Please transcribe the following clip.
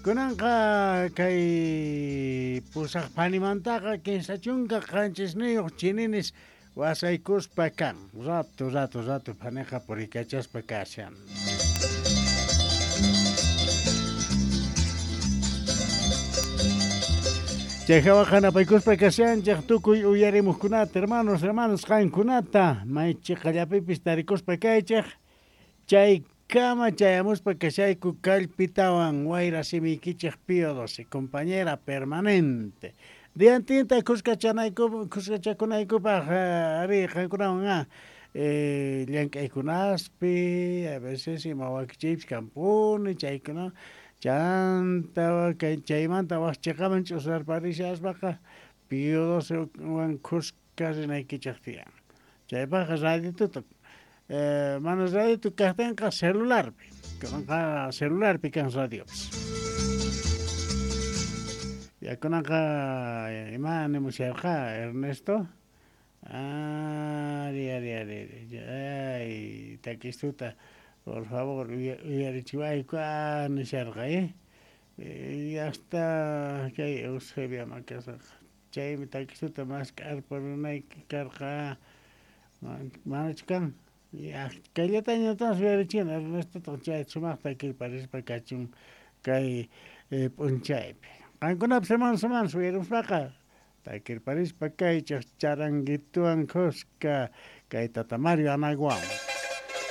Kunanqa kay pusaj phanimantaqa 37 chininis wasaykuspa kan. Rato, rato, rato phaniqa purikachaspa kashan. Chay jawaqa napaykuspa kashanchej tukuy uyarimujkunata, hermanos, hermanas, qankunata, may chiqallapipis tarikuspa kaychej, chay kama chayamuspa kashayku kallpitawan wayra simiykichej Pío 12, compañera permanente. Diantinta khuskachakunaykupaj ari qankunawan llank'aykunaspi, a veces ima wakichiypis kanpuni, chaykuna chanta chaymanta waj chiqaman ch'usarparishaspaqa Pío 12 wan khuska rinaykichej tiyan. Chaypajqa radituta mana radito kajtinqa celularpi, kunanqa celularpi kan radiopis. Ya kunanqa ima nimusharqa Ernesto? Ari, ari, ari, ari. Ay, takistuta, por favor, uyarichiwayku, nisharqa, eh? Hasta kay Eusebia Macasaqa. Chaymi takistuta mask'arparunayki karqa, manachu kan? Ya, kayllataña entonces uyarichina, Ernestotaj chay sumajta takirparispa kachun kay p'unchaypi. Qankunapis hermanos, hermanas uyarimuspaqa takirparispa kaychej charanguituwan khuska kay Tata Mario Anaguawan.